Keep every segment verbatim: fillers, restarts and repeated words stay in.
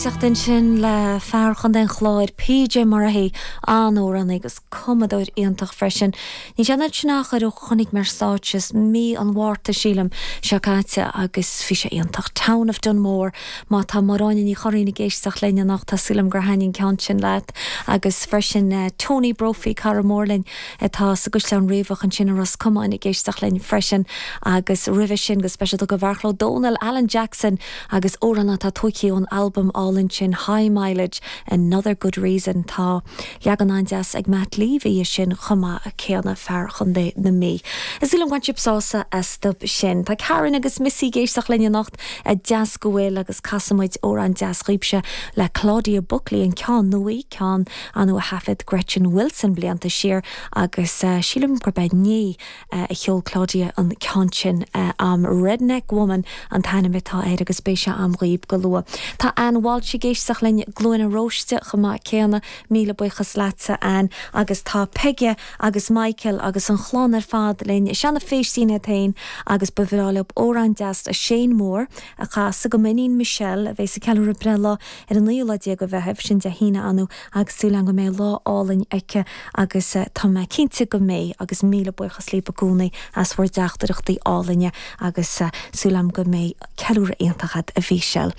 Éisteacht ansin le fear Chontae an Chláir PJ Murphy an-amhránaí agus cumadóir iontach freisin. Ní sin sin achar ó chonaic mé ar stáitse mí an Mhárta sílim seo caite agus bhí sé iontach Town of Dunmore má tá Máráine Ní Churraoin ag éisteacht linn anocht tá súil agam gur thaitin an ceann sin leat agus freisin uh, Tony Brophy cara mór linn atá sa gCaisleán Riabhach ansin i Ros Comáin ag éisteacht linn freisin agus roimhe sin go speisialta go Bheartla Ó Dónaill Alan Jackson agus amhrán atá tógtha ón albam álainn sin High Mileage Another Good Reason tá leagan an-deas ag Matt Levy sin chomh maith céanna fear Chontae na Mí. Is an bhain sibh sásamh as sin. Tá Karen agus Missy ag éisteacht linn anocht a deas go bhfuil agus casfaimid amhrán deas daoibhse le Claudia Buckley an ceann nua ceann an a thaifead Gretchen Wilson blianta siar agus uh, sílim gur be ní uh, a cheol Claudia an ceann sin uh, am Redneck Woman an t-ainm atá air agus beidh sé agam daoibh go luath. Tá Ann Walsh ag éisteacht linn glúine róiste chomh maith céanna míle buíochas leatsa Ann agus tá Peige agus Michael agus an chlann ar fad linn Seana Féistín féin agus ba bhreá leo amhrán deas a Shane Moore a chasadh do m'iníon Michelle a bheas ag ceiliúradh breithlá ar an naoú lá déag de Mheitheamh sin Dé hAoine anu agus súil go mbeidh lá álainn aici agus eh, tá mé cinnte go mbeidh agus míle buíochas libh i gcónaí as bhur dteachtaireachtaí álainne agus uh, súil agam go mbeidh ceiliúradh iontach agat a Mhichelle.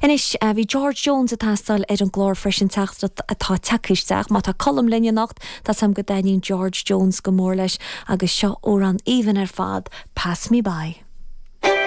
Anois uh, bhí George Jones ag teastáil ar an gclár freisin teachtaireacht atá tagtha isteach, má tá Colm linn anocht tá sam go dtaitníonn George Jones go mór leis agus seo amhrán aoibhinn ar fad, Pass Me By.